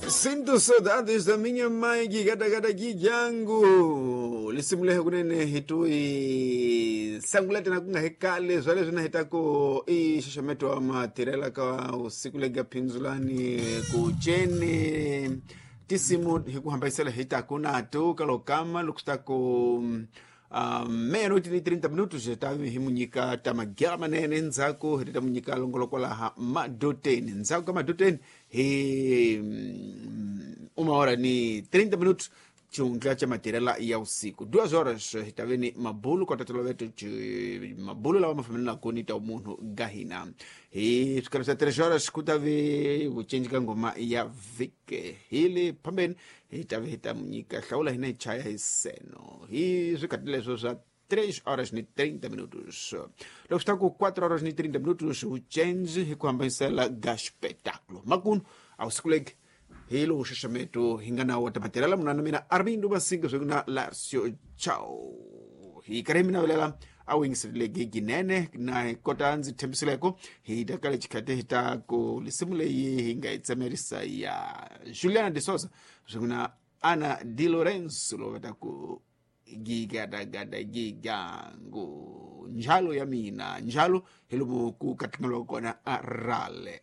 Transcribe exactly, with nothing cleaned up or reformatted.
Sinto saudades da minha mãe gigadagada gijangu lisimulehe kunene hitui sangulete na kunga hekale zwale zwina hitako i xaxameto wa matirela ka usiku lega phindzulani ku ceni tisimu hi ku hambanyisela hitako nato kalokama loko swi ta ku um, meia-noite ni trinta minutos ta hi mu nyika ta magela manene ndzhaku hi ta mu nyika longoloko laha madoteni ndzhaku ka madoteni hi mm, uma hora ni trinta minutos xihundla xa matirela ya usiku duas horas hi ta ve ni mabulu kota toloveto mabulu lawa ma fambelanaka ni ta munhu ga hina hi swikalo swa tres horas ku ta ve vucinci ka ngoma ya vhike hi le phambeni hi ta ve hi ta mu nyika hlawula hina hi chaya hi seno hi swikhathi leswo swa três horas ni trinta minutos loko swi ta ku quatro horas ni trinta minutos vucenzi hi ku hambanyisela ga xipetakulo makunu a wu sikuleki hi lowu xaxameto hi nga na wa tamatirela munana mina Armindo Masinga swi na Larcio Chao hi karhi mi navelela a wu yingiserile ginene na hi kota ndzi tshembisileko hi ta kale xikhati hi ta ku lisimu leyi hi nga yi tsemerisa ya Juliana de Souza swi na Ana Di Lorenzo lowu va ta ku gigadagada gigangu njalo ya mina njalo hi lomu ku katlangeliwa kona a rale.